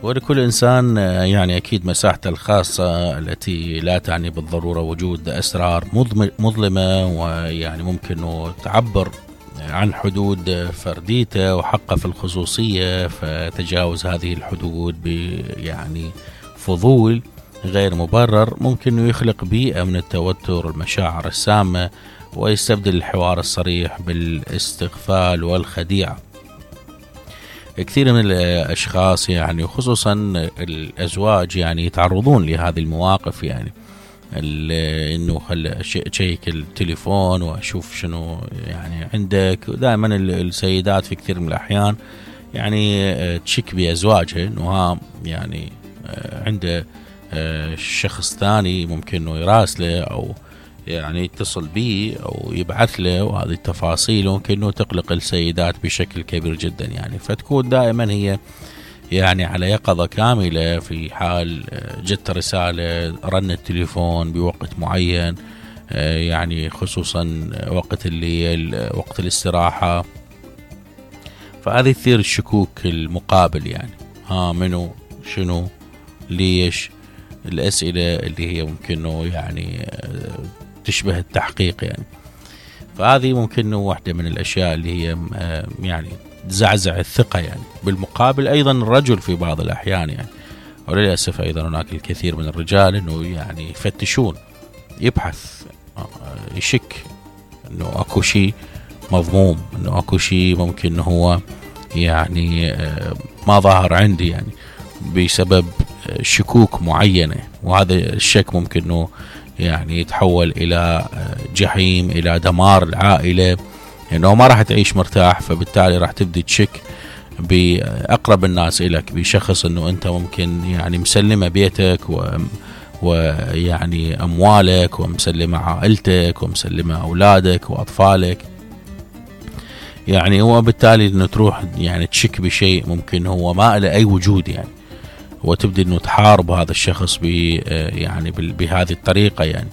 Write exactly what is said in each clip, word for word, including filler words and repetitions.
ولكل إنسان يعني أكيد مساحته الخاصة التي لا تعني بالضرورة وجود أسرار مظلمة، ويعني ممكن أنه تعبر عن حدود فرديته وحقه في الخصوصية، فتجاوز هذه الحدود يعني فضول غير مبرر ممكن أنه يخلق بيئة من التوتر والمشاعر السامة، ويستبدل الحوار الصريح بالاستغفال والخديعة. كثير من الأشخاص يعني وخصوصا الأزواج يعني يتعرضون لهذه المواقف، يعني إنه خل شيك التليفون وأشوف شنو يعني عندك. دائما السيدات في كثير من الأحيان يعني تشك بأزواجها إنه ها يعني عنده شخص ثاني ممكن إنه يراسله أو يعني يتصل به أو يبعث له، وهذه التفاصيل ممكن إنه تقلق السيدات بشكل كبير جدا يعني. فتكون دائما هي يعني على يقظة كاملة في حال جت رسالة، رن التليفون بوقت معين، يعني خصوصا وقت الليل وقت الاستراحة. فهذه تثير الشكوك المقابل، يعني ها منو شنو ليش، الأسئلة اللي هي ممكن يعني تشبه التحقيق يعني. فهذه ممكن واحدة من الأشياء اللي هي يعني تزعزع الثقة يعني. بالمقابل أيضا الرجل في بعض الأحيان يعني، وللأسف أيضا هناك الكثير من الرجال إنه يعني يفتشون، يبحث، يشك إنه أكو شيء مضموم، إنه أكو شيء ممكن إنه هو يعني ما ظاهر عندي يعني بسبب شكوك معينة. وهذا الشك ممكن إنه يعني يتحول إلى جحيم، إلى دمار العائلة، إنه ما راح تعيش مرتاح. فبالتالي راح تبدي تشك بأقرب الناس إليك، بشخص إنه أنت ممكن يعني مسلمة بيتك و ويعني أموالك، ومسلمة عائلتك، ومسلمة أولادك وأطفالك يعني. وبالتالي إنه تروح يعني تشك بشيء ممكن هو ما له أي وجود يعني، وتبدي إنه تحارب هذا الشخص ب يعني بهذه الطريقة يعني،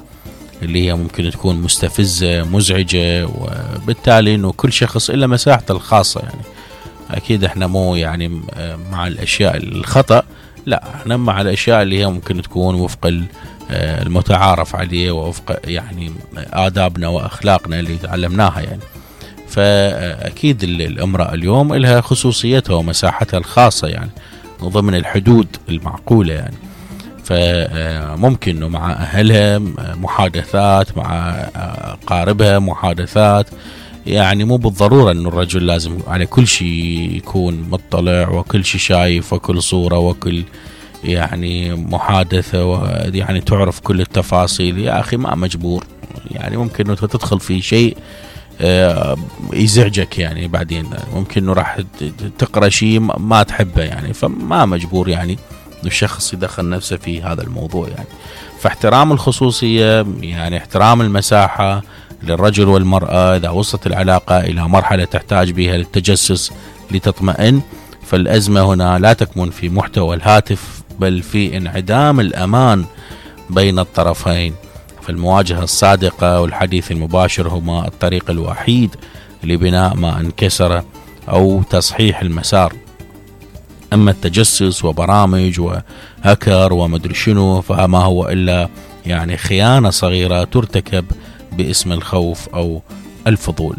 اللي هي ممكن تكون مستفزة مزعجة. وبالتالي إنه كل شخص إلا مساحته الخاصة يعني. أكيد إحنا مو يعني مع الأشياء الخطأ، لا، إحنا مع الأشياء اللي هي ممكن تكون وفق المتعارف عليه ووفق يعني آدابنا وأخلاقنا اللي تعلمناها يعني. فأكيد الامرأة اليوم لها خصوصيتها ومساحتها الخاصة يعني ضمن الحدود المعقولة يعني. فممكن مع أهلها محادثات، مع قاربها محادثات يعني. مو بالضرورة أنه الرجل لازم على كل شيء يكون مطلع وكل شيء شايف وكل صورة وكل يعني محادثة يعني تعرف كل التفاصيل. يا أخي ما مجبور يعني، ممكن أنه تدخل في شيء يزعجك يعني، بعدين ممكن أنه راح تقرأ شيء ما تحبه يعني. فما مجبور يعني الشخص يدخل نفسه في هذا الموضوع يعني. فاحترام الخصوصية يعني احترام المساحة للرجل والمرأة. إذا وصلت العلاقة إلى مرحلة تحتاج بها للتجسس لتطمئن، فالأزمة هنا لا تكمن في محتوى الهاتف، بل في انعدام الأمان بين الطرفين. فالمواجهة الصادقة والحديث المباشر هما الطريق الوحيد لبناء ما انكسر أو تصحيح المسار. أما التجسس وبرامج وهكر ومدري شنو فما هو إلا يعني خيانة صغيرة ترتكب باسم الخوف أو الفضول.